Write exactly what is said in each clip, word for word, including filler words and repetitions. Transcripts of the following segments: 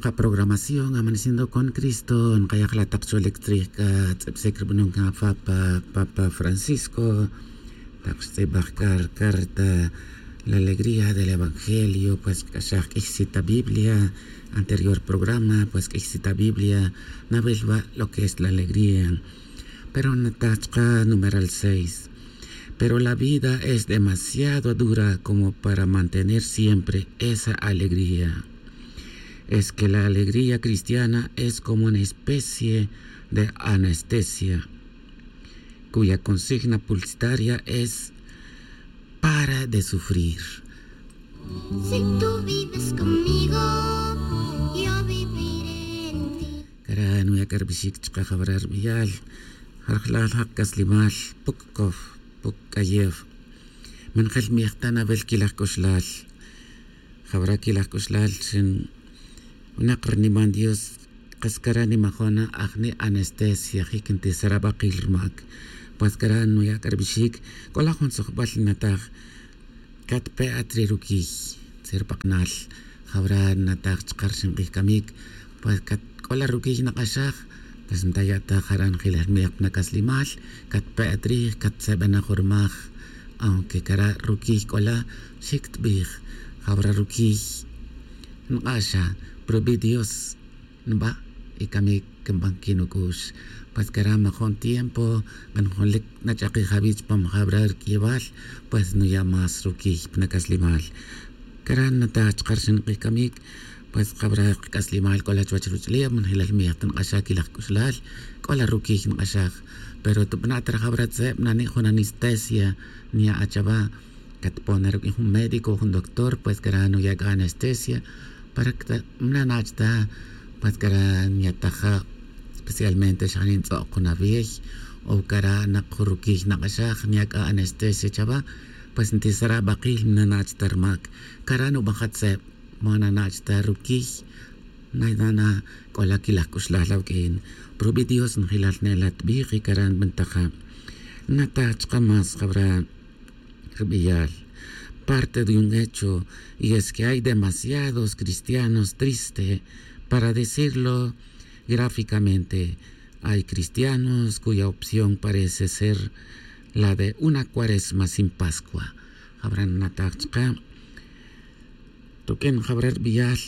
Chka programación Amaneciendo con Cristo nkaya' la tak cholic tzrij c'a tz'ibsic rubanon c'a papa papa Francisco, tak xtz'ibaj c'a carta la alegría del evangelio, pues c'axaj q'uiy cita biblia. Anterior programa pues q'uiy cita biblia nawil wa' lo que es la alegría. Pero nataj chka numeral seis. Pero la vida es demasiado dura como para mantener siempre esa alegría. Es que la alegría cristiana es como una especie de anestesia, cuya consigna publicitaria es para de sufrir. Si tú vives conmigo, yo viviré en ti. Cara nuya' c'a rubixic chka jawara' rubiyal. Jarjlal jak c'aslimal puc cof puc c'ayef. Man jel miej ta nawil quilaj c'uxlal. Jawara' quilaj c'uxlal xin winak rniman dios. Kas cara' nimajon na ajni' anestesia jic ntisara' bakil rumac. Pues cara' nuya' c'a rubixic c'o la jun tzujbal nataj catpe' at ri ruquiy. Tzir pak'nal jawara' nataj chka rixin k'ij camic. Pues c'o la ruquiy nak'axaj. Pues ntaya' ta jara' njilal miej pa nac'aslimal. Catpe' at rij catsebenaj jun rumaj. Aunque cara' ruquiy c'o la xic tbij jawara' ruquiy nk'axa. Pero wi dios nba' y camic nban quinuc'ux. Pues cara' majon tiempo kan junlic nach'akij awi' chupam jawara' ruq'uiybal. Pues nuya' más ruquiy pa nac'aslimal. Cara' nataj chka rixin k'ij camic. Pues jawara' kac'aslimal c'o la chuwech ruch'uleb man jilal miej ta nk'axaj quilaj c'uxlal. C'o la ruquiy nk'axaj. Pero tubana' ta ri jawara' tzeb nani' jun anestesia nya' achawa'. Catpon na ruq'uin jun médico jun doctor pues cara' nuya' c'a anestesia para que mananach' ta. Pues cara' nyataja' especialmente xa nintz'ok jun awiy o cara' nak jun ruquiy nak'axaj nya' c'a anestesia chawa'. Pues ntisara' bakil mananach' ta rumac. Cara' nubaja' tzeb mananach' ta ruquiy. Nana c'o la quilaj c'uxlal awuq'uin. Pero wi dios njilal ne la tbij y cara' nbantaja'. Nataj chka más jawara' rubiyal parte de un hecho. Y es que hay demasiados cristianos triste para decirlo gráficamente. Hay cristianos cuya opción parece ser la de una cuaresma sin pascua. Jawara' nataj chka. Tuq'uin jawara' rubiyal.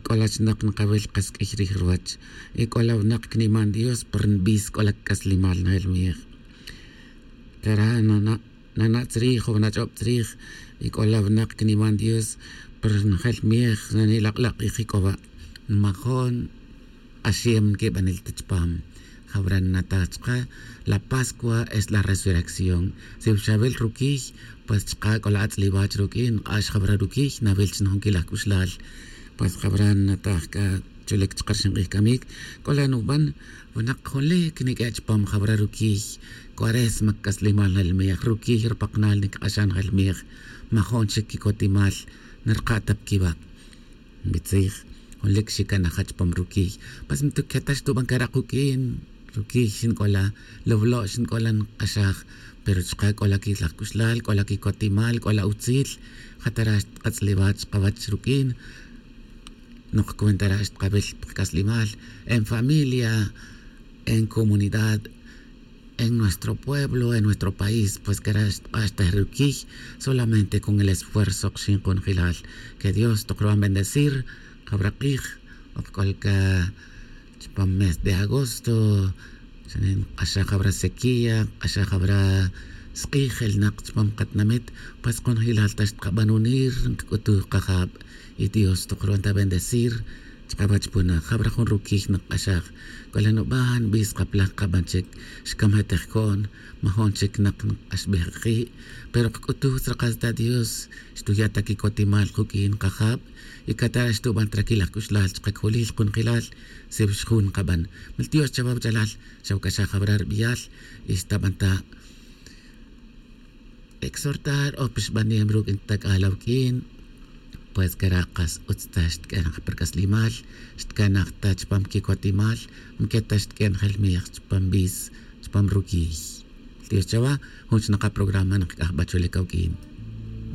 C'o la chinak nkawil kas q'uiy rij ruwach. Y c'o la winak cniman dios pero nbis c'o la cac'aslimal najel miej. Cara' nana' nana' tzrij o nach'ob tzrij. Y c'o la winak cniman dios pero najel miej nani' lak'lak' k'ij y c'o wa'. Nmajon k'axem nquibanel ta chupam. Jawara' nnataj chka la pascua es la resurrección. Si wi xawil ruquiy pues chka c'o la atz'liwach ruq'uin nk'ax jawara' ruquiy nawil chi na jun quilaj c'uxlal. Pues jawara' nnataj c'a chulic chka rixin k'ij camic. C'o la nuban winak junlic niq'ue' chupam jawara' ruquiy. Cuaresma cac'aslimal najel miej ruquiy rupaknal nicak'axan najel miej. Majon chic quicotimal narka' ta pa quiwa'. Nbitzij junlic xicanaja' chupam ruquiy. Pues mituqueta' xtuban cara' kuq'uin ruquiy xinc'ola. Lawlo' xinc'ola nk'axaj. Pero chka c'o la quilaj c'uxlal c'o la quicotimal c'o la utzil. Jatara' xtkatz'liwach chkawach ruq'uin. Nok cuentara' xtkawil pa kac'aslimal en familia, en comunidad, en nuestro pueblo, en nuestro país. Pues cara' xtk'axtaj ruquiy solamente con el esfuerzo kxin kunjilal. Que dios tok ruban bendecir. Jawara' k'ij ok c'ol ca chupam mes de agosto. Xanin k'axaj jawara' sequía k'axaj jawara' sk'ij elnak chupam katinamit. Pues kunjilal ta xtkaban unir ncac'utuj kajab. Y dios tok ruban ta bendecir chkawach puna jawara' jun ruquiy nk'axaj. C'o la nuban bis kapalaj kaban chic. Xcamej ta jco'n majon chic nak nk'axbej kaki'. Pero kac'utuj tzra kas ta dios xtuya' ta quicotimal kuq'uin kajab. Y catara' xtuban ta raquilaj c'uxlal chka cjulil kunjelal. Si wi xjun kaban mil dios chawa wach'alal. Xawac'axaj jawara' rubiyal y xtaban ta exhortar o pixbanem ruc' ntac'al awuq'uin. Pues cara' kas utz ta xtq'uenaj pa rc'aslimal. Xtcanaj ta chupam quicotimal. Mqueta xtq'uenaj el miej chupam bis chupam ruquiy. Dios chawa jun xnaka programa nkac'ajba chule cawuq'uin.